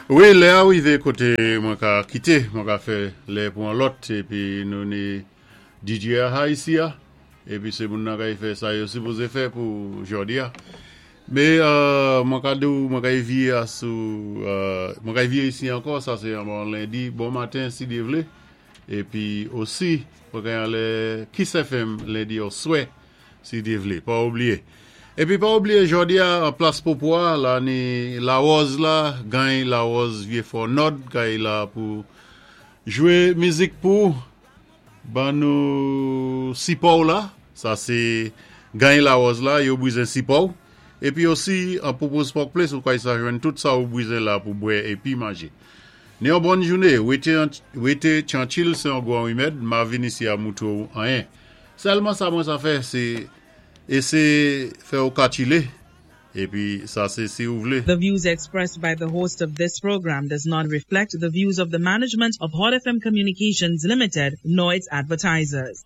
Wi, lè a wivé koté mwen ka kité, mwen ka fè lè pou an lòt épi nou ni DJ a ha isi a épi sé moun nan kay fè sa yo sipozé fè pou jòdi a. Mé mwen ka di-w mwen kay vié a sou mwen kay vié isi ankò, sa sé an bon lendi bon maten si Dyé vlé épi osi mwen kay anlè Kiss FM lendi oswè si Dyé vlé, pa oubliyé. Épi pa oubliyé jòdi a an plas Popo a la ni Lawòz la, gany Lawòz Vyé Fò Nòd kay la pou jwé mizik pou ban nou sipò-w la, sa sé gany Lawòz la, yo bizen sipò-w. Épi osi an Popo's Pork Place ou kay sa jwenn tout sa ou bizen la pou bwè épi manjé. Ni yon bòn jouné, wété wété tyanchil sé yon gwan rimèd, ma vin isi a moutwé-w anyen. Sèlman sa mwen sa fè sé éséyé fè-w ka chilé épi sa sé si ou vlé. The views expressed by the host of this program does not reflect the views of the management of Hot FM Communications Limited nor its advertisers.